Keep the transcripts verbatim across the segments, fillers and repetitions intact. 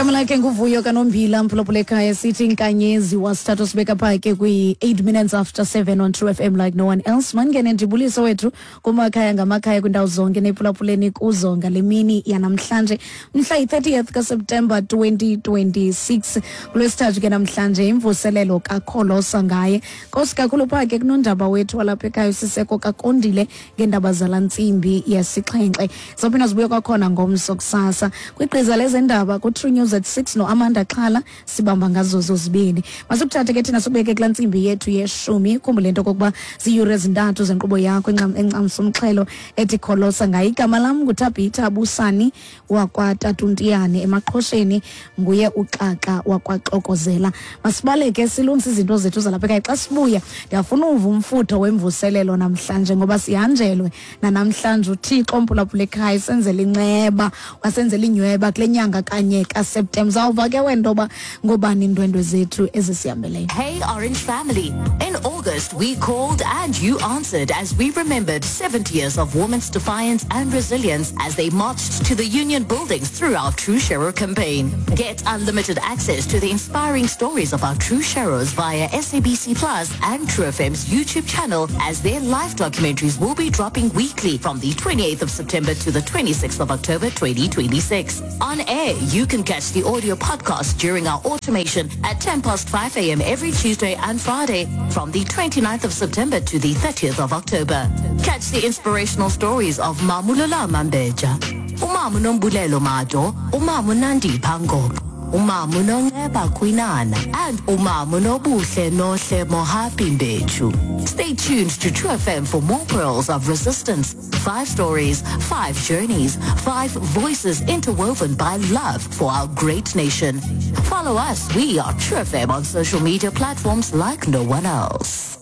Igama lakhe nguVuyo kaNombila, mphulaphula ekhaya, sithi inkanyezi wasithathu sibeka pha ke kwi-eight minutes after seven on True F M like no one else. Mandingene ndibulise wethu kumakhaya ngamakhaya, kwiindawo zonke nephulaphuleni kuzo ngale mini yanamhlanje, mhla yi-thirtieth kaSeptemba twenty twenty-six, kulwesithathu ke namhlanje, imvuselelo kakholosa ngaye. Nkosi kakhulu pha ke kunondaba wethu walapha ekhaya, uSiseko Kakondile, ngeendaba zala ntsimbi yesixhenxe. Sawuphinda sibuye kwakhona ngomso kusasa kwigqiza lezendaba ku-True News at six noAmanda Xhala. Sibamba ngazo zozibini. Masikuthathe ke thina sikubeke kulaa ntsimbi yethu yeshumi. Khumbule into okokuba ziiyure ezintathu zenkqubo yakho encam- encamsa umxhelo ethi Kholosa ngaye. Igama lam nguThabitha Busani wakwaTatuntiyane emaqhosheni, nguye uXaxa wakwaXokozela. Masibaleke silungise izinto zethu zalapha ekhaya. Xa sibuya ndiyafuna uva umfutho wemvuselelo namhlanje, ngoba sihanjelwe nanamhlanje uThixo, mphulaphula ekhaya, senzela inceba, wasenzela inyweba kule nyanga kanye kaSeptemba. Zawuva ke wena ntoba ngobani iindwendwe zethu ezisihambeleyo. Hey, Orange family. In August, we called and you answered as we remembered seventy years of women's defiance and resilience as they marched to the union buildings through our True Sharer campaign. Get unlimited access to the inspiring stories of our True Sharers via S A B C Plus and True F M's YouTube channel, as their live documentaries will be dropping weekly from the twenty-eighth of September to the twenty-sixth of October twenty twenty-six. On air, you can catch the audio podcast during our automation at ten past five a m every Tuesday and Friday from the 29th of September to the thirtieth of October. Catch the inspirational stories of Mamulula Mambeja, Umamu Nombulelo Mado, Umamu Nandi Pango, Umamu Nonceba Kwinana, and Umamu Nobuhle Nohle Mohapi Mbechu. Stay tuned to True F M for more pearls of resistance. Five stories, five journeys, five voices interwoven by love for our great nation. Follow us. We are True F M on social media platforms like no one else.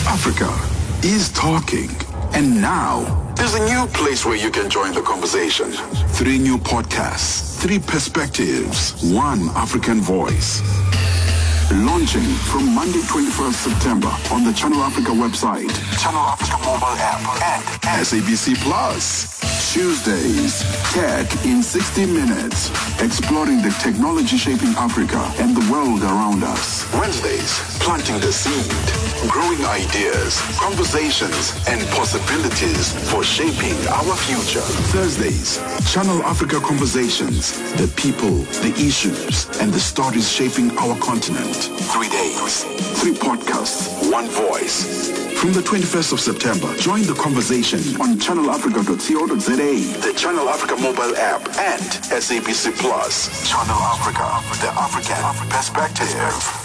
Africa is talking. And now, there's a new place where you can join the conversation. Three new podcasts, three perspectives, one African voice. Launching from Monday, twenty-first September on the Channel Africa website, Channel Africa mobile app, and S A B C Plus. Tuesdays, Tech in sixty Minutes, exploring the technology shaping Africa and the world around us. Wednesdays, Planting the Seed, growing ideas, conversations, and possibilities for shaping our future. Thursdays, Channel Africa Conversations, the people, the issues, and the stories shaping our continent. Three days, three podcasts, one voice. From the twenty-first of September, join the conversation on channelafrica dot co dot za, the Channel Africa mobile app, and S A B C Plus. Channel Africa, the African perspective.